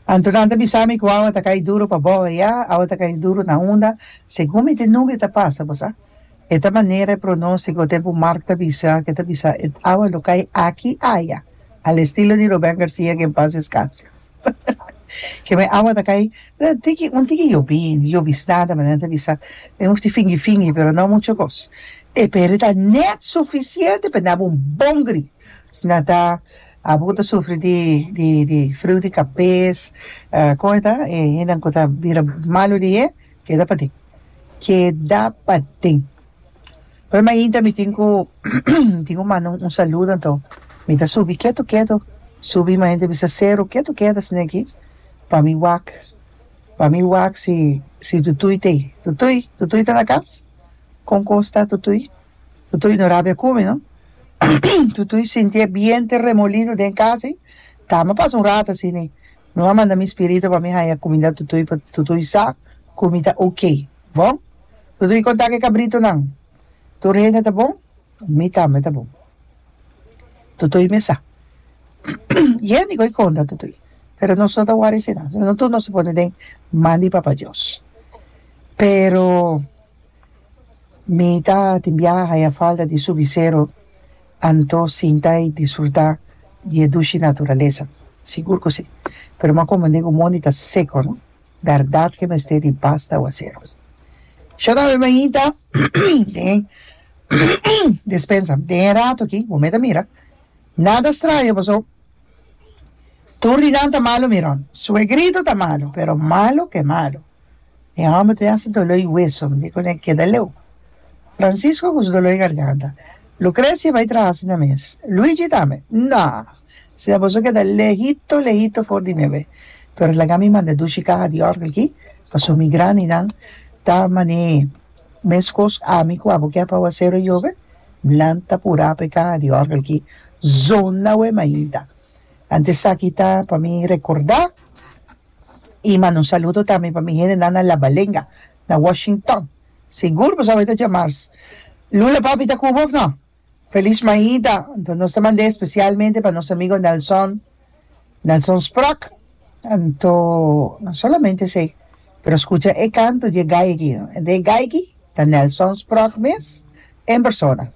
Anto nan ta bisa mi ku awa ta kai duru pa bou ayá, awa ta kai duru na unda, segun mi te nubia ta pasa, bo sa. E ta manera e pronóstiko tempu Mark ta bisa, ke ta bisa e awa lo kai aki aya, al estilo di Rubén Garcia ke en paz descanse. Ke men awa ta kai tiki, un tiki yobi, yobisnada manera nan ta bisa, e un fingi fingi pero no mucho kos. E pero e ta net sufisiente pa daba un bon gri. Asina ta Abo ku ta sufri di di di friu di kabes, kon e ta? E hendenan ku ta bira malu di e, keda paden. Keda paden. Pero mainta mi tin ku mi tin ku manda un saludo anto mi ta subi ketu ketu, subi mainta bisa seru ketu ketu asina aki pa mi wak, pa mi wak si si Tutuy ta ei. Tutuy, Tutuy ta na kas? Kon kos ta Tutuy? Tutuy no rabia ku mi no. Tutuy sinti e biente remolino den kas ei. Tama pasa un rato asina ei. Mi a manda mi spirito pa mi haña kuminda Tutuy pa Tutuy sa ku mi ta ok. Bon? Tutuy konta ku e kabritonan. Tur hende ta bon? Mi tambe ta bon. Tutuy mi sa. Yende ku e konta Tutuy. Pero nos no ta wòri asina. No tur nos ta pone den man di Papa Dios. Pero. Mi ta tin biaha haya falta di subi sero anto sinta y disfruta di e dushi naturalesa. Sigur cu si. Pero mi a comprende cu mondi ta seco no. Berdad ke mester di basta awacero. Sho ta bebe ainda den despensa. Den e rato aki bo meta mira nada straño paso tur di nan ta malo miron. Suegrito ta malo pero malo ke malo. E hòmber ta hasi doló i weso, mi di kuné keda leu. Francisco ku su doló i garganta. Lucrecia bai traha asina mes. Luigi tambe. No! Asina boso keda lehito lehito for di mi awe. Pero laga mi manda dushi kaha di òrgel aki, pasobra mi grandinan ta man'é meskos ami ku abo ke pa awasero yobe, nan ta purá pa e kaha di òrgel aki zona awe mainta. Anto esaki ta pa mi rekordá. I manda un saludo tambe pa mi hendenan na La Balenga, na Washington. Sigur boso a ta djamars. Lula papi ta ku bo of no? Feliz mainta. Anto nos ta mand'é especialmente pa nos amigo Nelson, Nelson Sprock. Anto no solamente esei, pero scucha e canto di e gai aki. E gai aki ta Nelson Sprock mes en persona.